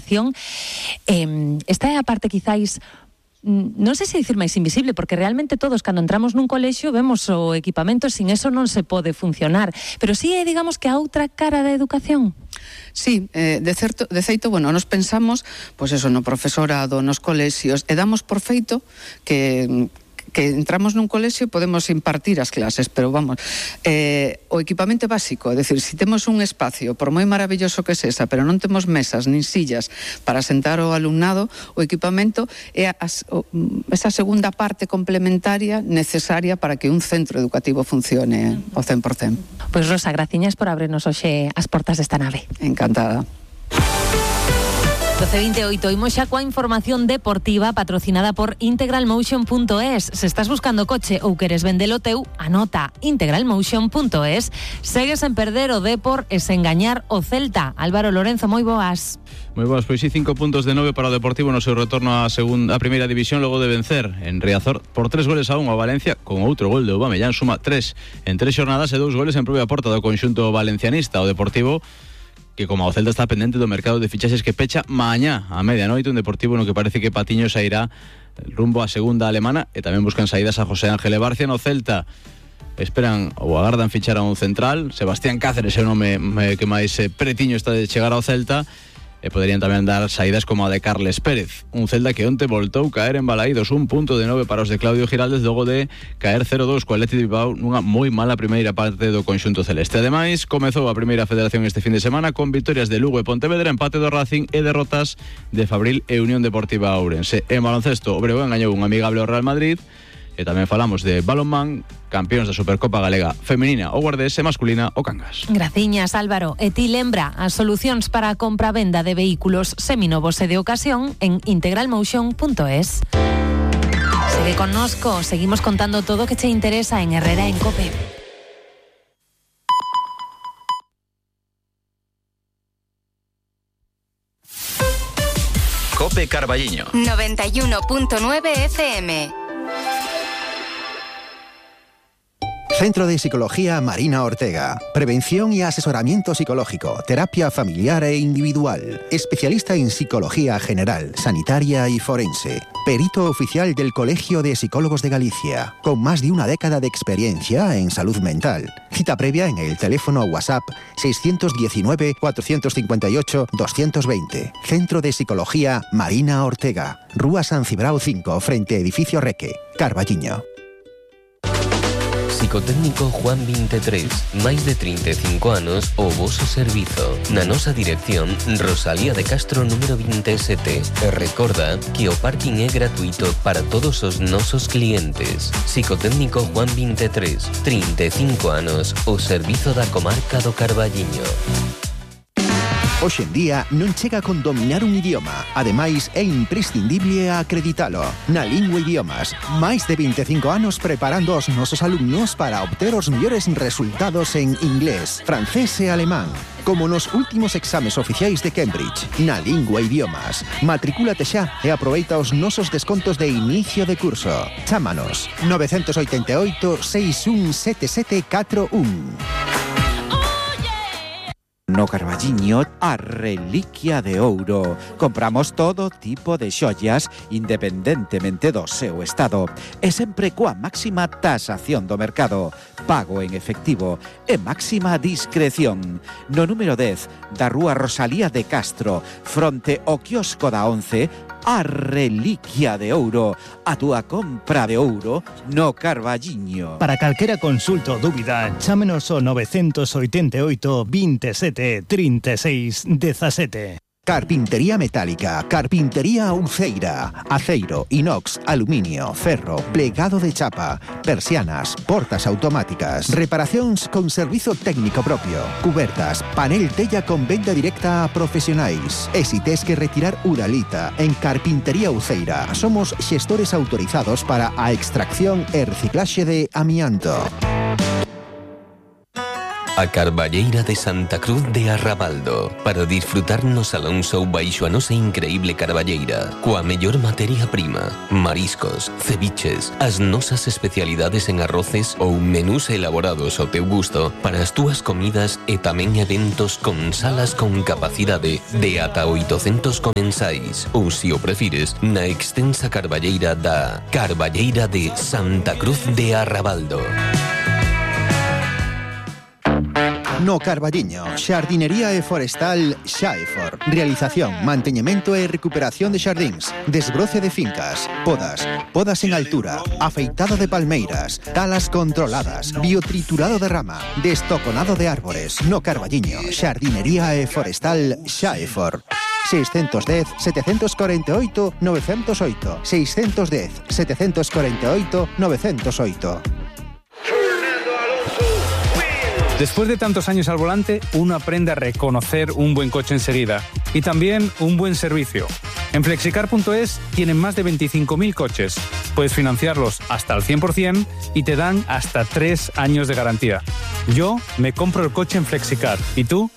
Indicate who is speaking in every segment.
Speaker 1: educación. Esta é a parte quizáis, non sei se dicir máis invisible, porque realmente todos cando entramos nun colexio vemos o equipamento, sin eso non se pode funcionar, pero sí é, digamos, que a outra cara da educación.
Speaker 2: Sí, de feito, bueno, nos pensamos, pois eso, no profesorado, nos colexios, e damos por feito que entramos nun colexio e podemos impartir as clases, pero vamos, o equipamento básico, é dicir, se temos un espacio, por moi maravilloso que sesa, pero non temos mesas nin sillas para sentar o alumnado, o equipamento é esa segunda parte complementaria necesaria para que un centro educativo funcione ao 100%.
Speaker 1: Pois Rosa, graciñas por abrirnos hoxe as portas desta nave.
Speaker 2: Encantada.
Speaker 1: 12:28, imos xa coa información deportiva patrocinada por integralmotion.es. Se estás buscando coche ou queres vendelo teu, anota integralmotion.es. Segues en perder o Depor e sen gañar o Celta. Álvaro Lorenzo, moi boas.
Speaker 3: Moi boas, pois sí, 5 puntos de 9 para o Deportivo no seu retorno á primeira división logo de vencer en Riazor por 3-1 a Valencia, con outro gol de Aubameyang, suma 3 en 3 xornadas e 2 goles en propia porta do conxunto valencianista. O Deportivo, que como o Celta está pendente do mercado de fichaxes que pecha mañá a medianoite, un Deportivo no que parece que Patiño sairá rumbo á segunda alemana e tamén buscan saídas a José Ángel Barcia. No Celta esperan ou agardan fichar a un central. Sebastián Cáceres é o nome que máis pretiño está de chegar ao Celta, e poderían tamén dar saídas como a de Carles Pérez. Un Celta que onte voltou caer en Balaídos, 1 punto de 9 para os de Claudio Giraldes, logo de caer 0-2 co Athletic de Bilbao nunha moi mala primeira parte do conxunto celeste. Ademais, comezou a primeira federación este fin de semana con vitorias de Lugo e Pontevedra, empate do Racing e derrotas de Fabril e Unión Deportiva Ourense. En baloncesto, o Breogán gañou un amigable ao Real Madrid. E tamén falamos de balonmán, campeóns da Supercopa Galega femenina o Guardés e masculina o Cangas.
Speaker 1: Graciñas, Álvaro. E ti lembra as solucións para a compra-venda de vehículos seminovos e de ocasión en integralmotion.es. Segue connosco, seguimos contando todo o que che interesa en Herrera en COPE.
Speaker 4: COPE Carballiño
Speaker 5: 91.9 FM.
Speaker 6: Centro de Psicología Marina Ortega. Prevención y asesoramiento psicológico, terapia familiar e individual. Especialista en psicología general, sanitaria y forense. Perito oficial del Colegio de Psicólogos de Galicia. Con más de una década de experiencia en salud mental. Cita previa en el teléfono WhatsApp 619-458-220. Centro de Psicología Marina Ortega. Rúa San Cibrao 5, frente a Edificio Reque, Carballiño.
Speaker 7: Psicotécnico Juan 23, máis de 35 anos o voso servizo. Na nosa dirección, Rosalía de Castro número 27. E recorda que o parking é gratuito para todos os nosos clientes. Psicotécnico Juan 23, 35 anos, o servizo da comarca do Carballiño.
Speaker 6: Hoxe en día non chega con dominar un idioma. Ademais, é imprescindible acreditalo. Na Lingua Idiomas, máis de 25 anos preparando os nosos alumnos para obter os mellores resultados en inglés, francés e alemán. Como nos últimos exames oficiais de Cambridge. Na Lingua Idiomas. Matricúlate xa e aproveita os nosos descontos de inicio de curso. Chámanos 988 617741.
Speaker 8: No Carballiño, a reliquia de ouro. Compramos todo tipo de xollas, independentemente do seu estado. E sempre coa máxima tasación do mercado. Pago en efectivo e máxima discreción. No número 10 da Rúa Rosalía de Castro, fronte ao quiosco da 11, a reliquia de ouro. A túa compra de ouro no Carballiño.
Speaker 9: Para calquera consulta ou dúbida, chámenos ao 988 27 36 17.
Speaker 6: Carpintería metálica, carpintería Uceira, aceiro, inox, aluminio, ferro, plegado de chapa, persianas, portas automáticas, reparacións con servizo técnico propio, cubertas, panel tella con venda directa a profesionais. E si tes que retirar uralita, en Carpintería Uceira somos xestores autorizados para a extracción e reciclaxe de amianto.
Speaker 7: a Carballeira de Santa Cruz de Arrabaldo, para disfrutar no Salón Show baixo a nosa increíble carballeira, coa mellor materia prima, mariscos, ceviches, as nosas especialidades en arroces ou menús elaborados ao teu gusto para as túas comidas e tamén eventos con salas con capacidade de ata 800 comensais, ou, se o prefires, na extensa carballeira da Carballeira de Santa Cruz de Arrabaldo.
Speaker 6: No Carballiño, xardinería e forestal Xaefor. Realización, manteñemento e recuperación de xardíns, desbroce de fincas, podas en altura, afeitado de palmeiras, talas controladas, biotriturado de rama, destoconado de árbores. No Carballiño, xardinería e forestal Xaefor. 610 748 908 610 748 908.
Speaker 4: Después de tantos años al volante, uno aprende a reconocer un buen coche enseguida y también un buen servicio. En Flexicar.es tienen más de 25.000 coches. Puedes financiarlos hasta el 100% y te dan hasta 3 años de garantía. Yo me compro el coche en Flexicar. ¿Y tú?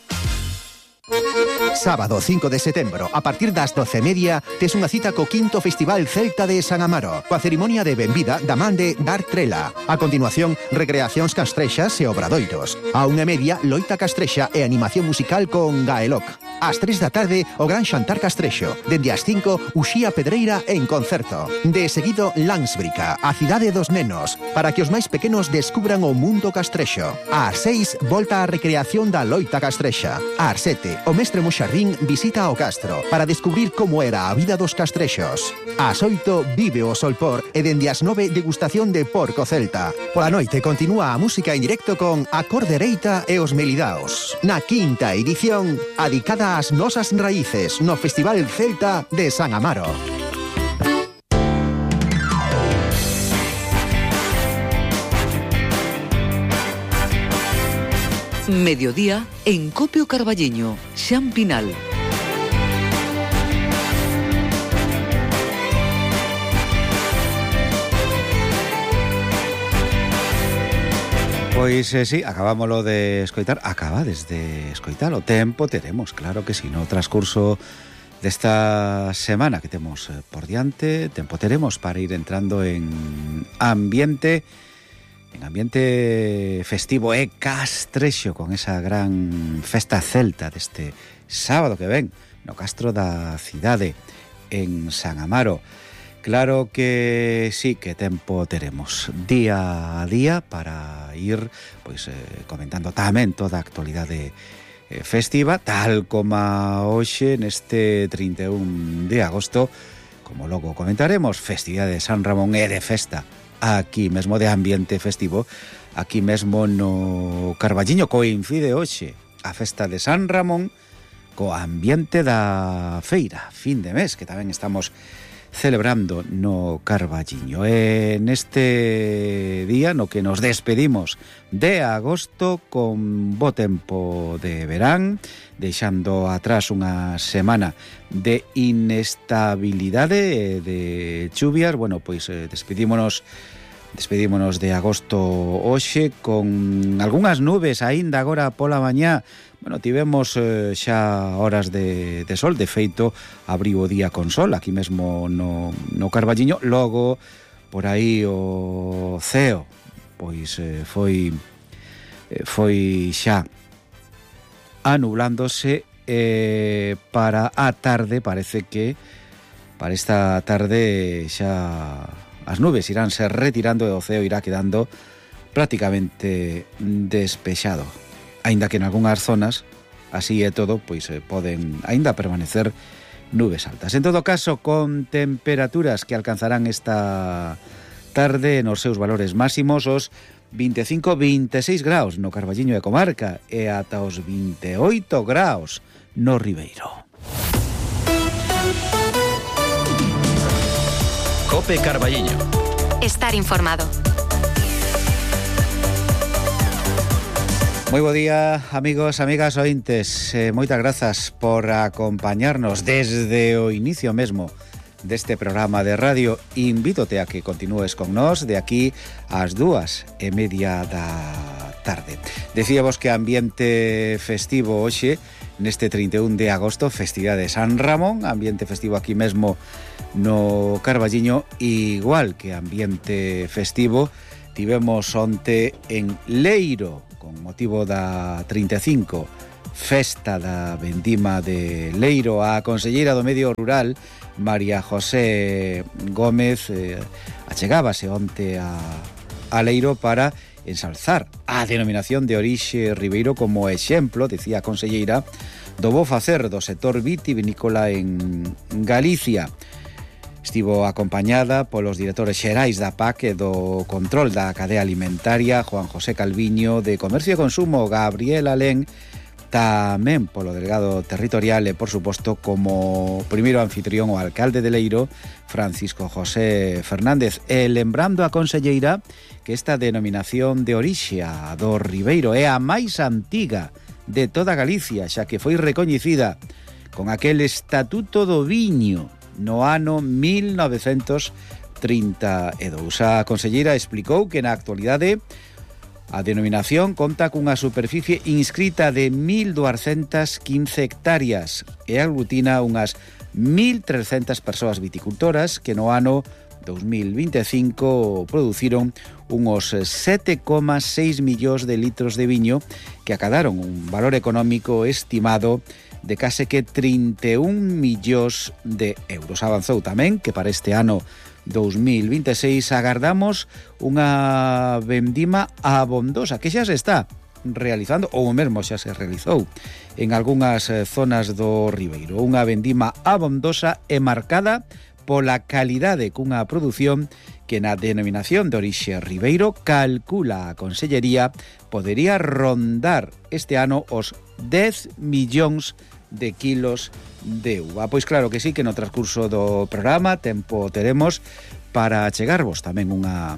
Speaker 6: Sábado 5 de setembro, a partir das 12:30, tes unha cita co 5º Festival Celta de San Amaro, coa cerimonia de benvida da man de Dar Trela. A continuación, recreacións castrexas e obradoiros. A 1:30, loita castrexa e animación musical con Gaeloc. Ás 3 da tarde, o gran xantar castrexo. Dende as 5, Uxía Pedreira en concerto. De seguido, Landsbrica, a cidade dos nenos, para que os máis pequenos descubran o mundo castrexo. Ás 6, volta a recreación da loita castrexa. Ás 7, o mestre Moxarrín visita o castro para descubrir como era a vida dos castrexos. Ás 8, vive o solpor e dende as 9, degustación de porco celta. Pola noite continúa a música en directo con A Cor Dereita e os Melidaos. Na 5ª edición, adicada ás nosas raíces no Festival Celta de San Amaro.
Speaker 10: Mediodía en Copio Carballiño, Xan Pinal.
Speaker 8: Pois sí, acabámoslo de escoitar, acabades de escoitar, o tempo teremos, claro que si, no transcurso desta semana que temos por diante, tempo teremos para ir entrando en ambiente festivo e castrexo con esa gran festa celta deste sábado que ven no castro da cidade en San Amaro. Claro que sí, que tempo teremos día a día para ir pois comentando tamén toda a actualidade festiva, tal como hoxe neste 31 de agosto, como logo comentaremos, festividade de San Ramón e de festa aquí mesmo de ambiente festivo, aquí mesmo no Carballiño. Coincide hoxe a festa de San Ramón co ambiente da feira, fin de mes, que tamén estamos celebrando no Carballiño. E neste día no que nos despedimos de agosto con bo tempo de verán, deixando atrás unha semana de inestabilidade e de chuvias, bueno, pois despedímonos de agosto hoxe con algunhas nubes aínda agora pola mañá. Bueno, tivemos xa horas de sol, de feito abriu o día con sol aquí mesmo no Carballiño. Logo por aí o ceo pois foi xa anublándose para a tarde. Parece que para esta tarde xa as nubes iránse retirando e o ceo irá quedando prácticamente despexado, aínda que en algunhas zonas, así é todo, pois poden aínda permanecer nubes altas. En todo caso, con temperaturas que alcanzarán esta tarde nos seus valores máximos, os 25-26 graus no Carballiño e comarca e ata os 28 graus no Ribeiro.
Speaker 11: Cope Carballiño.
Speaker 5: Estar informado.
Speaker 8: Moi bo día, amigos, amigas ointes. Moitas grazas por acompañarnos desde o inicio mesmo deste programa de radio. Invítote a que continúes con nós de aquí ás 2:30 da tarde. Decíamos que ambiente festivo hoxe, neste 31 de agosto, festividade de San Ramón, ambiente festivo aquí mesmo no Carballiño, igual que ambiente festivo tivemos onte en Leiro, con motivo da 35 Festa da Vendima de Leiro. A conselleira do Medio Rural, María José Gómez, achegábase onte a Leiro para ensalzar a denominación de orixe ribeiro como exemplo, decía a conselleira, do bo facer do sector vitivinícola en Galicia. Estivo acompañada polos directores xerais da PAC e do control da cadea alimentaria, Juan José Calviño, de Comercio e Consumo, Gabriel Alén, tamén polo delegado territorial e, por suposto, como primeiro anfitrión o alcalde de Leiro, Francisco José Fernández. E lembrando a conselleira que esta denominación de orixe do ribeiro é a máis antiga de toda Galicia, xa que foi recoñecida con aquel Estatuto do Viño no ano 1932. A conselleira explicou que na actualidade a denominación conta cunha superficie inscrita de 1.215 hectáreas e aglutina unhas 1.300 persoas viticultoras que no ano 2025 produciron unos 7,6 millóns de litros de viño que acadaron un valor económico estimado de case que 31 millóns de euros. Avanzou tamén que para este ano 2026 agardamos unha vendima abondosa que xa se está realizando, ou mesmo xa se realizou en algunhas zonas do ribeiro. Unha vendima abondosa e marcada pola calidade cunha produción que na denominación de orixe ribeiro calcula a consellería podería rondar este ano os 10 millóns de kilos de uva. Pois claro que sí, que no transcurso do programa tempo teremos para chegarvos tamén unha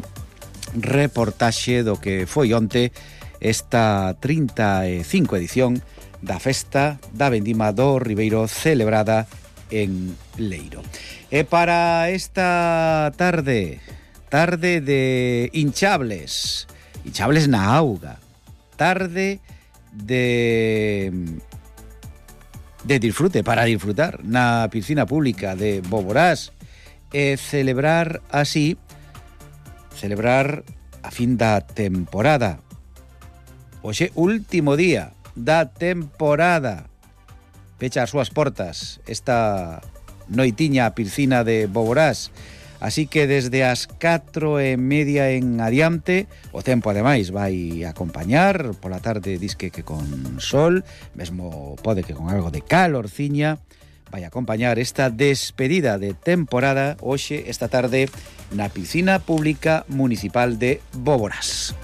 Speaker 8: reportaxe do que foi onte esta 35 edición da Festa da Vendima do Ribeiro celebrada en Leiro. E para esta tarde de hinchables na auga, tarde de disfrute, para disfrutar na piscina pública de Boborás e celebrar a fin da temporada. Hoxe, último día da temporada, pecha as súas portas esta noitiña a piscina de Boborás. Así que desde as 4:30 en adiante, o tempo ademais vai acompañar, pola tarde disque que con sol, mesmo pode que con algo de calorciña, vai acompañar esta despedida de temporada hoxe, esta tarde, na piscina pública municipal de Boborás.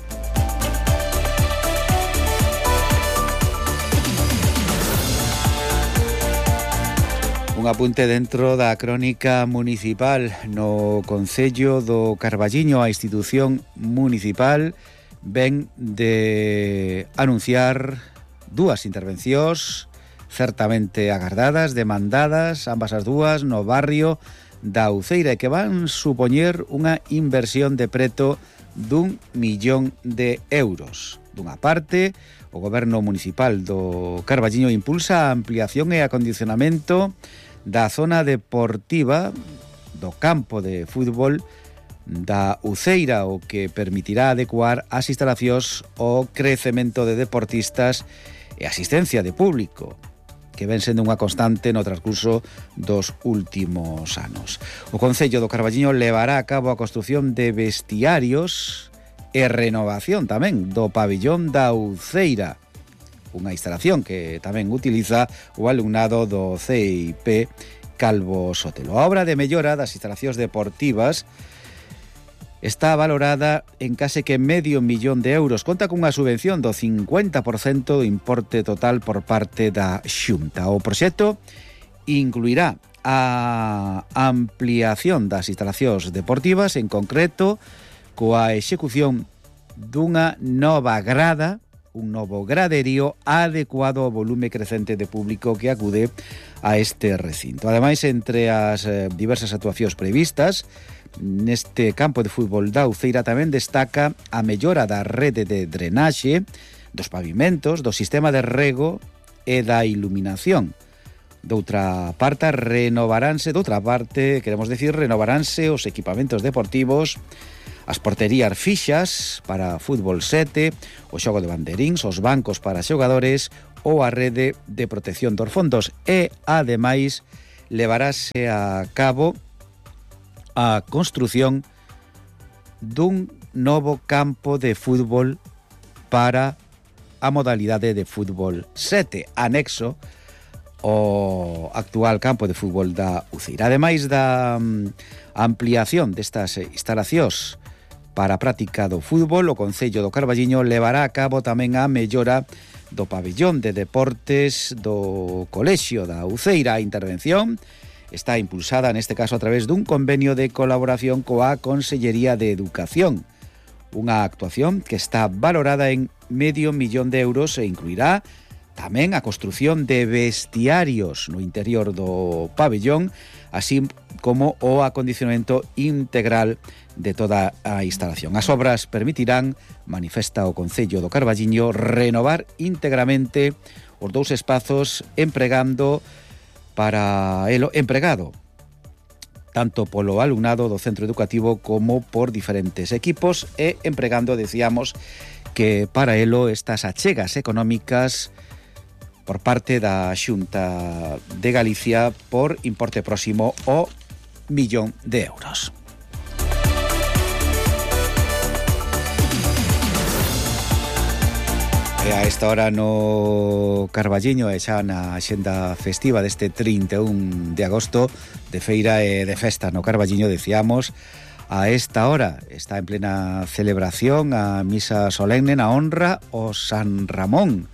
Speaker 8: Un apunte dentro da crónica municipal. No Concello do Carballiño, a institución municipal ven de anunciar dúas intervencións certamente agardadas, demandadas, ambas as dúas no barrio da Uceira, e que van supoñer unha inversión de preto d'1 millón de euros. Dunha parte, o Goberno Municipal do Carballiño impulsa a ampliación e acondicionamento da zona deportiva do campo de fútbol da Uceira, o que permitirá adecuar as instalacións ao crecemento de deportistas e asistencia de público, que ven sendo unha constante no transcurso dos últimos anos. O Concello do Carballiño levará a cabo a construción de vestiarios e renovación tamén do pabillón da Uceira, unha instalación que tamén utiliza o alumnado do CIP Calvo Sotelo. A obra de mellora das instalacións deportivas está valorada en case que medio millón de euros. Conta cunha subvención do 50% do importe total por parte da Xunta. O proxecto incluirá a ampliación das instalacións deportivas, en concreto coa execución dunha nova grada un novo graderío adecuado ao volume crecente de público que acude a este recinto. Ademais, entre as diversas actuacións previstas neste campo de fútbol da Uceira tamén destaca a mellora da rede de drenaxe, dos pavimentos, do sistema de rego e da iluminación. Doutra parte, renovaránse os equipamentos deportivos, as porterías fixas para fútbol 7, o xogo de banderíns, os bancos para xogadores ou a rede de protección dos fondos e, ademais, levarase a cabo a construción dun novo campo de fútbol para a modalidade de fútbol 7, anexo o actual campo de fútbol da Uceira. Ademais da ampliación destas instalacións para a práctica do fútbol, o Concello do Carballiño levará a cabo tamén a mellora do pabellón de deportes do Colexio da Uceira. A intervención está impulsada neste caso a través dun convenio de colaboración coa Consellería de Educación, unha actuación que está valorada en €500,000 e incluirá tamén a construción de vestiarios no interior do pabellón, así como o acondicionamento integral de toda a instalación. As obras permitirán, manifesta o Concello do Carballiño, renovar íntegramente os dous espazos empregado tanto polo alumnado do centro educativo como por diferentes equipos e empregando, decíamos, que para elo estas achegas económicas por parte da Xunta de Galicia por importe próximo ao €1.000.000. E a esta hora no Carballiño e xa na axenda festiva deste 31 de agosto de feira e de festa no Carballiño, decíamos, a esta hora está en plena celebración a misa solemne na honra o San Ramón.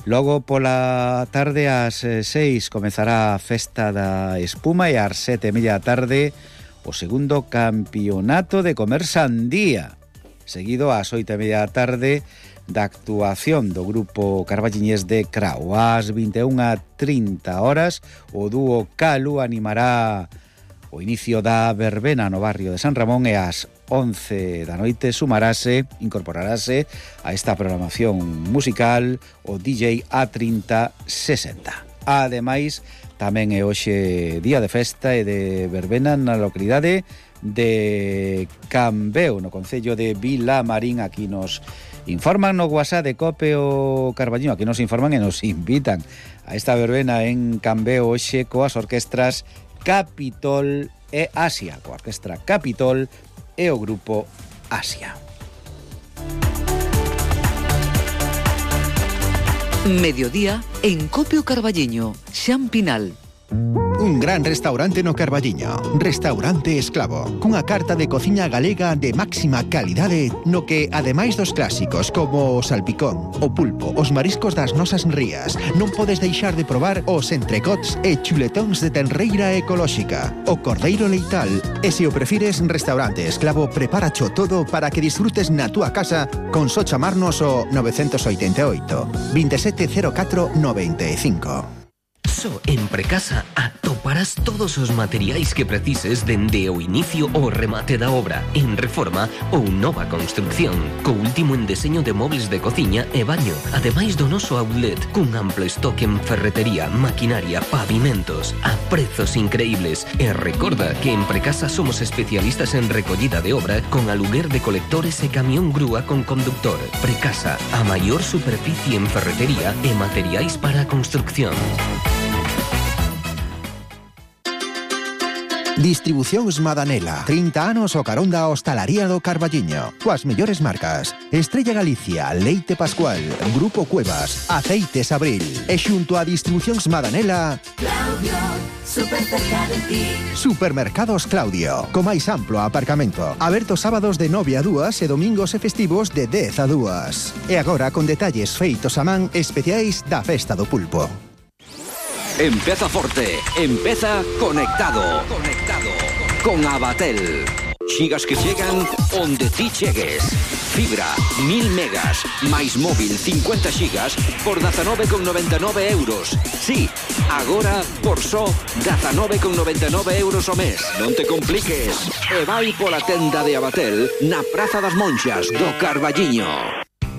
Speaker 8: Logo pola tarde ás 6 comezará a festa da espuma e ás 7:30 da tarde o segundo campeonato de comer sandía, seguido ás 8:30 da tarde da actuación do grupo carballiñés de Crao. Ás 21:30 horas o dúo Calu animará o inicio da verbena no barrio de San Ramón e ás 11 da noite incorporarase a esta programación musical o DJ A3060. Ademais, tamén é hoxe día de festa e de verbena na localidade de Cambeu, no concello de Vilamarín. Aquí nos informan no WhatsApp de Cope o Carballiño, aquí nos informan e nos invitan a esta verbena en Cambeu hoxe coas orquestras Capitol e Asia, coa orquestra Capitol e o grupo Asia.
Speaker 10: Mediodía en Cope o Carballiño, Xan Pinal.
Speaker 6: Un gran restaurante no Carballiño, Restaurante Esclavo, cunha carta de cociña galega de máxima calidade no que, ademais dos clásicos como o salpicón, o pulpo, os mariscos das nosas rías, non podes deixar de probar os entrecots e chuletóns de tenreira ecolóxica, o cordeiro leital, e se o prefires, Restaurante Esclavo preparacho todo para que disfrutes na túa casa con só chamarnos o 988 2704 95.
Speaker 7: Só en Precasa atoparás todos os materiais que precises dende o inicio ao remate da obra, en reforma ou nova construcción, co último en deseño de mobles de cociña e baño, ademais do noso outlet, cun amplo estoque en ferretería, maquinaria, pavimentos, a prezos increíbles. E recorda que en Precasa somos especialistas en recollida de obra con aluguer de colectores e camión grúa con conductor. Precasa, a maior superficie en ferretería e materiais para a construcción.
Speaker 6: Distribucións Madanela, 30 anos o carón da hostalaría do Carballiño, coas mellores marcas: Estrella Galicia, Leite Pascual, Grupo Cuevas, Aceites Abril, e xunto a Distribucións Madanela, Claudio, super cerca de ti. Supermercados Claudio, co máis amplo aparcamento, aberto sábados de 9 a 2 e domingos e festivos de 10 a 2. E agora con detalles feitos a man especiais da Festa do Pulpo.
Speaker 11: Empeza forte, empeza conectado. Con Abatel. Xigas que chegan onde ti chegues. Fibra, 1000 megas, máis móvil 50 xigas por 19,99 euros. Sí, agora por só 19,99 euros ao mes. Non te compliques. E vai pola tenda de Abatel na Praza das Monxas do Carballiño.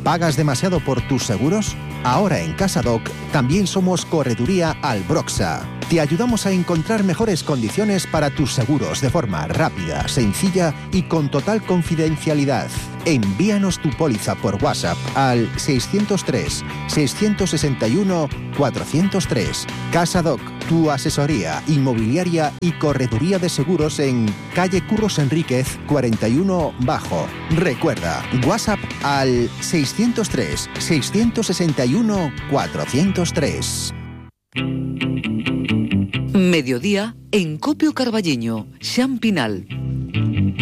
Speaker 6: ¿Pagas demasiado por tus seguros? Ahora en CasaDoc también somos Correduría Albroxa. Te ayudamos a encontrar mejores condiciones para tus seguros de forma rápida, sencilla y con total confidencialidad. Envíanos tu póliza por WhatsApp al 603-661-403. CasaDoc, tu asesoría inmobiliaria y correduría de seguros en calle Curros Enríquez 41 Bajo. Recuerda, WhatsApp al 603-661-403.
Speaker 10: Mediodía en Copio Carballeño, Xan Pinal.